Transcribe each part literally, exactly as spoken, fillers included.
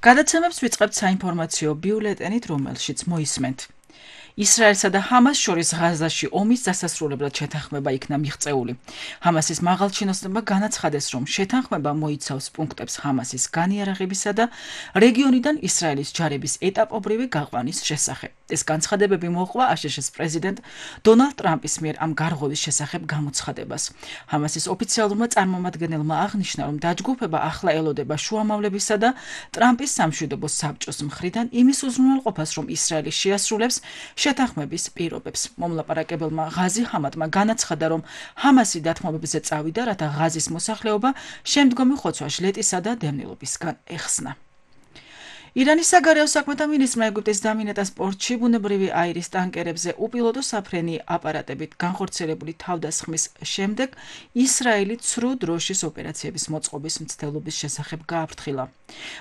გადაცემებს ვიწყებთ საინფორმაციო ბიულეტენით, რომელშიც მოისმენთ. ისრაელსა და ჰამას შორის ღაზაში ომის დასასრულებლად შეთანხმება იქნა მიღწეული. ჰამასის მაღალჩინოსნებმა განაცხადეს, რომ შეთანხმება მოიცავს პუნქტებს ჰამასის განიარაღებისა და რეგიონიდან ისრაელის ჯარების ეტაპობრივი გაყვანის შესახებ. ეს განცხადებები მოჰყვა აშშ-ის პრეზიდენტ დონალდ ტრამპის მიერ ამ გარღვევის შესახებ გამოცხადებას. ჰამასის ოფიციალურმა წარმომადგენელმა აღნიშნა, რომ დაჯგუფება ახლა ელოდება შუამავლებისა და ტრამპის სამშვიდობო საბჭოს მხრიდან იმის უზრუნველყოფას, რომ ისრაელი შეასრულებს შეთანხმების პირობებს. მომლაპარაკებელმა ღაზი ჰამატმა განაცხადა, რომ ჰამასი დათმობებზე წავიდა, რათა ღაზის მოსახლეობა შემდგომი ხოცვა ჟლეტისა და დევნილობისგან ეხსნა. ირანის საგარეო საქმეთა მინისტრმა ეგვიპტის დამინეტას პორტში ბუნებრივი აირის ტანკერებზე უპილოტო საფრენი აპარატებით განხორციელებული თავდასხმის შემდეგ ისრაელი ცრუ დროშის ოპერაციების მოწყობის მცდელობის შესახებ გააფრთხილა.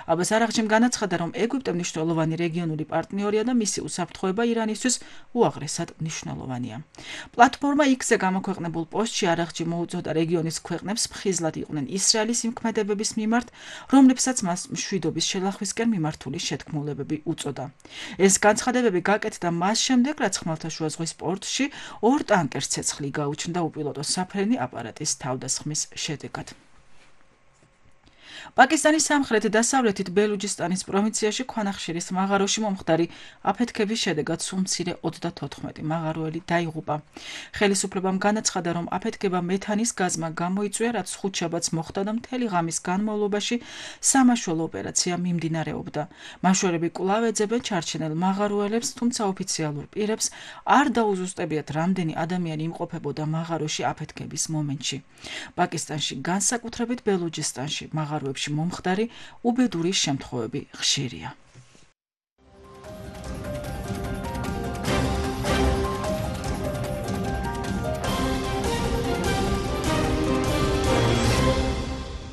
აბას არაღჩიმ განაცხადა, რომ ეგვიპტე მნიშვნელოვანი რეგიონული პარტნიორია და მისი უსაფრთხოება ირანისთვის უაღრესად მნიშვნელოვანია. პლატფორმა X-ზე გამოქვეყნებულ პოსტში არაღჩი მოუწოდა რეგიონის ქვეყნებს ფხიზლად იყვნენ ისრაელის იმ ქმედებების მიმართ, რომლებსაც მას მშვიდობის შელახვისკენ მიმართ შეთქმულებები უწოდა. ეს განცხადებები გაკეთდა მას შემდეგ, რაც ხმელთაშუა ზღვის პორტში ორ ტანკერს ცეცხლი გაუჩნდა უპილოტო საფრენი აპარატის თავდასხმის შედეგად. პაკისტანის სამხრეთ-დასავლეთით ბელუჯისტანის პროვინციაში ქვანახშირის მაღაროში მომხდარი აფეთქების შედეგად სულ მცირე ოცდათოთხმეტი მაღაროელი დაიღუპა. ხელისუფლებამ განაცხადა, რომ აფეთქება მეთანის გაზმა გამოიწვია, რაც ხუთშაბათს მოხდა და მთელი ღამის განმავლობაში სამაშველო ოპერაცია მიმდინარეობდა. მაშვერები კვლავ ეძებენ ჩარჩენილ მაღაროელებს, თუმცა ოფიციალურ პირებს არ დაუზუსტებიათ, რამდენი ადამიანი იმყოფებოდა მაღაროში აფეთქების მომენტში. პაკისტანში, განსაკუთრებით ბელუჯისტანში, მაღაროებში მომხდარი უბედური შემთხვევები ხშირია.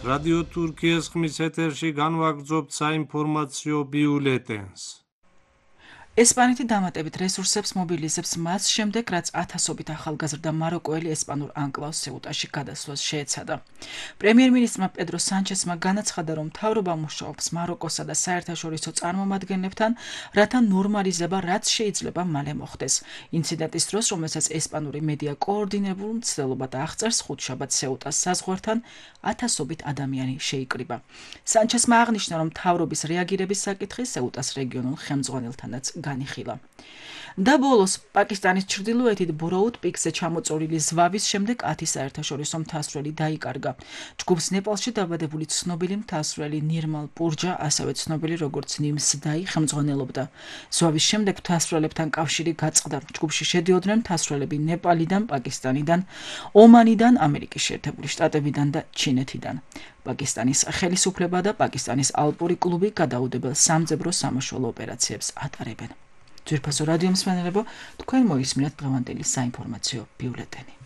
რადიო თურქიის ხმის ეთერში განვაგრძობთ საინფორმაციო ბიულეტენს. ესპანეთი დამატებით რესურსებს მობილიზებს მას შემდეგ, რაც ათასობით ახალგაზრდა მაროკოელი ესპანურ ანკლავს სეუტაში გადასვლას შეეცადა. პრემიერ-მინისტრმა პედრო სანჩესმა განაცხადა, რომ მთავრობა მუშაობს მაროკოსა და საერთაშორისო წარმომადგენლებთან, რათა ნორმალიზება რაც შეიძლება მალე მოხდეს. ინციდენტის დროს, რომელსაც ესპანური მედია კოორდინებულ მცდელობად აღწერს, ხუთშაბათს სეუტას საზღვართან ათასობით ადამიანი შეიკრიბა. სანჩესმა აღნიშნა, რომ მთავრობის რეაგირების საკითხი სეუტას რეგიონულ ხელმძღვანელთანაც განიხილა. და ბოლოს, პაკისტანის ჩრდილოეთით ბროუდ პიკზე ჩამოწოლილი ზვავის შემდეგ ათი საერთაშორისო მთასვლელი დაიკარგა. ჯგუფს ნეპალში დაბადებული ცნობილი მთასვლელი ნირმალ პურჯა, ასევე ცნობილი როგორც ნიმს დაი ხელმძღვანელობდა. ზვავის შემდეგ მთასვლელებთან კავშირი გაწყდა. ჯგუფში შედიოდნენ მთასვლელები ნეპალიდან, პაკისტანიდან, ომანიდან, ამერიკის შეერთებული შტატებიდან და ჩინეთიდან. პაკისტანის ხელისუფლება და პაკისტანის ალპური კლუბი გადაუდებელ სამძებრო სამაშველო ოპერაციებს ატარებენ. ძვირფასო რადიო მსმენელებო, თქვენ მოისმინეთ დღევანდელი საინფორმაციო ბიულეტენი.